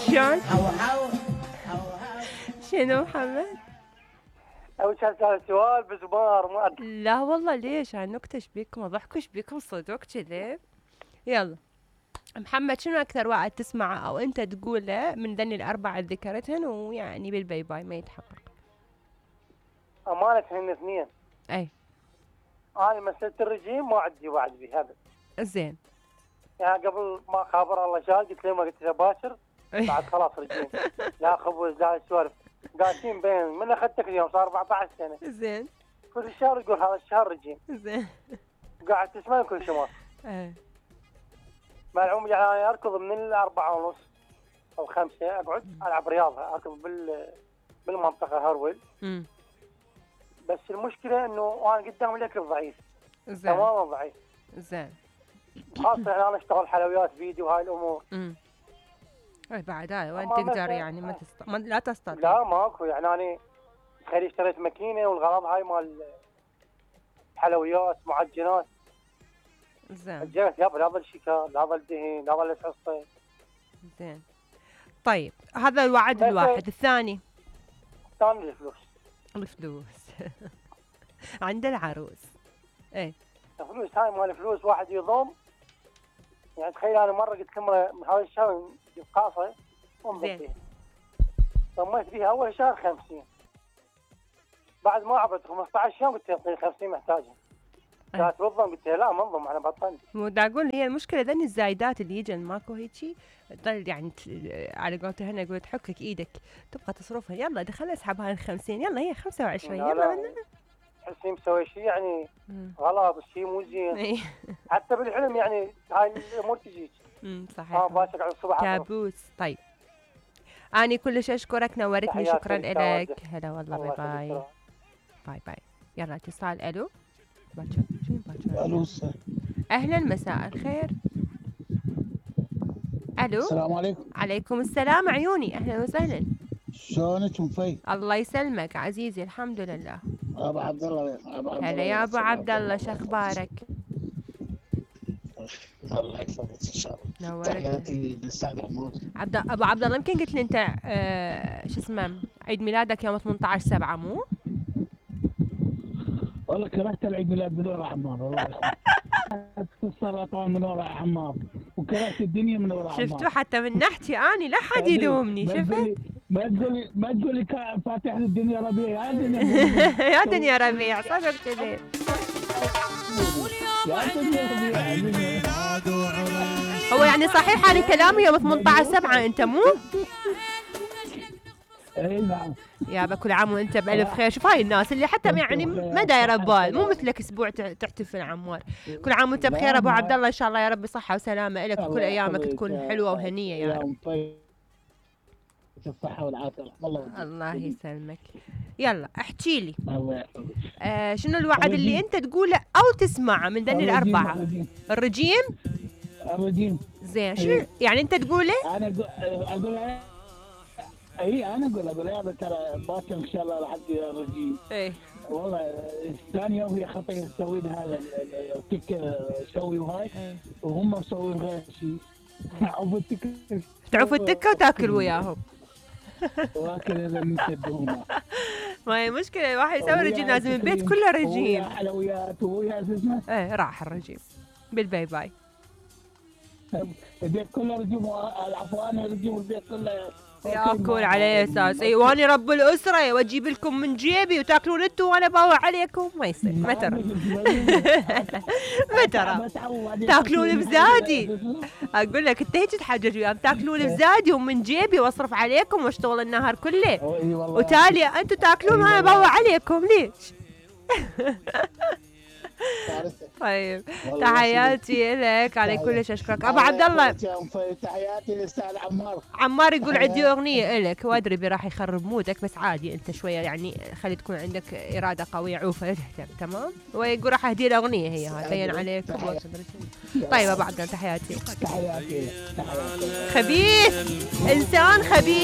شلون؟ شنو محمد؟ أول شيء أسأل سؤال بزمار ما أدري. لا والله ليش؟ نكتش بيكم اضحكش بيكم صدق كذي. يلا محمد، شنو أكثر واحد تسمعه أو أنت تقوله من ذني الأربعة اللي ذكرتهن ويعني بالباي باي ما يتحقق؟ أمانة هن اثنين. أي. أنا مسألة الرجيم ما عندي وعد بهذا. زين. يعني قبل ما خابر الله شال قلت له ما قلت له باشر بعد خلاص رجيم. لا خبز لا سوالف. قاعدين بين من أخذتك اليوم صار 14 سنة. زين. كل شهر يقول هذا الشهر رجيم. زين. قاعد تسمع كل شمال. ايه. مع العموم يعني أنا أركض من 4:30 أو 5 أقعد ألعب رياضة أركض بالمنطقة هرول. بس المشكلة إنه أنا قدام الأكل ضعيف. زين. تماما ضعيف. زين. خاصة أنا أشتغل حلويات فيديو وهاي الأمور. اي بعد هاي وين تقدر يعني لا تستطيع. لا ماكو يعني أنا خلي اشتريت ماكينة والغرض هاي مال حلويات معجنات. زين. الجهت يابا لا ظل شكر لا ظل دهن لا ظل حصة. زين. طيب هذا الوعد الواحد. الثاني الفلوس عند العروس. ايه الفلوس هاي مال الفلوس واحد يضم. يعني تخيل انا مره قلت لهم من هذا الشهر بقاصه ومضيت فيها. ضميت فيها اول شهر 50. بعد ما عبرت 15 يوم قلت لها 50 محتاجها. قالت بالضم قلت لها لا ما انضم انا بطلت. مو دا اقول هي المشكله ذني الزايدات اللي يجن ماكو هيجي تضل يعني على قولتها هنا يقول تحكك ايدك تبغى تصرفها. يلا دخل اسحب هاي 50 يلا هي 25 يلا تحسين مسوي شيء يعني غلط الشيء مو زين. حتى بالحلم يعني هاي الامور تجيك. صحيح. باشك على الصبح كابوس. طيب اني كلش اشكرك نورتني. شكرا لك. هلا والله باي باي. باي باي. يلا اتصال. الو باكر. الو اهلا مساء الخير. الو السلام عليكم. عليكم السلام عيوني. اهلا وسهلا. شلونك مفي؟ الله يسلمك عزيزي الحمد لله. ابو عبد الله. هلا يا ابو عبد الله شخبارك؟ الله يحفظك ان شاء الله. نورك. تحياتي للاستاذ حمود. ابو عبد الله يمكن قلت لي انت شو اسمه عيد ميلادك يوم 18/7 مو؟ والله كرهت العيد ميلاد من وراء عمار والله. السرطان من وراء عمار وكرهت الدنيا من وراء عمار. شفتوا حتى من ناحيتي اني لا حد يلومني. شفت؟ ما تقولي فاتح الدنيا ربيع. يا دنيا يا دنيا ربيع صدق كذي. هو يعني صحيح هذا كلامي يوم 18/7 انت مو؟ اي نعم. يا كل عام وانت بألف خير. شوف هاي الناس اللي حتى يعني ما دايره ببال مو مثلك اسبوع تحتفل عمار. كل عام وانت بخير ابو عبد الله ان شاء الله يا رب صحه وسلامه لك وكل ايامك تكون حلوه وهنيه يا رب. الصحه والعافيه. الله يسلمك. يلا احكي لي. الله يحفظك. شنو الوعد اللي انت تقوله او تسمعه من ذني الاربعه؟ الرجيم. زين. شنو يعني انت تقوله؟ انا اقول انا اقول يا ترى باكر ان شاء الله راح ادي الرجيم. ايه والله ثاني يوم هي خطيه تسوين هذا التك سوي وهاي وهم مسوين غير شيء. تعوف التكه وتاكل وياهم. واكل اذا من شدهم. ما هي مشكله الواحد يسوي رجيم لازم البيت كله رجيم. حلويات ويا اسمه. ايه راح الرجيم بالباي باي. البيت كله رجيم. العفو انا رجيم البيت كله ياكل على اساس اي واني رب الاسره واجيب لكم من جيبي وتاكلون انتم وانا باوع عليكم. ما يصير. ما ترى ما ترى تاكلون بزادي. اقول لك انت هيك تحجج وياهم تاكلون بزادي ومن جيبي واصرف عليكم واشتغل النهار كله وتالي انتم تاكلون وانا باوع عليكم ليش؟ طيب تحياتي لك على كلش اشكرك ابو عبد الله. تحياتي للاستاذ عمار يقول عندي اغنيه لك وادري راح يخرب مودك بس عادي انت شويه يعني خلي تكون عندك اراده قويه عوفه تهتم تمام. ويقول راح اهدي له اغنيه هي هاي بين عليك. طيب ابو عبد الله تحياتي. تحياتي خبيث انسان خبيث.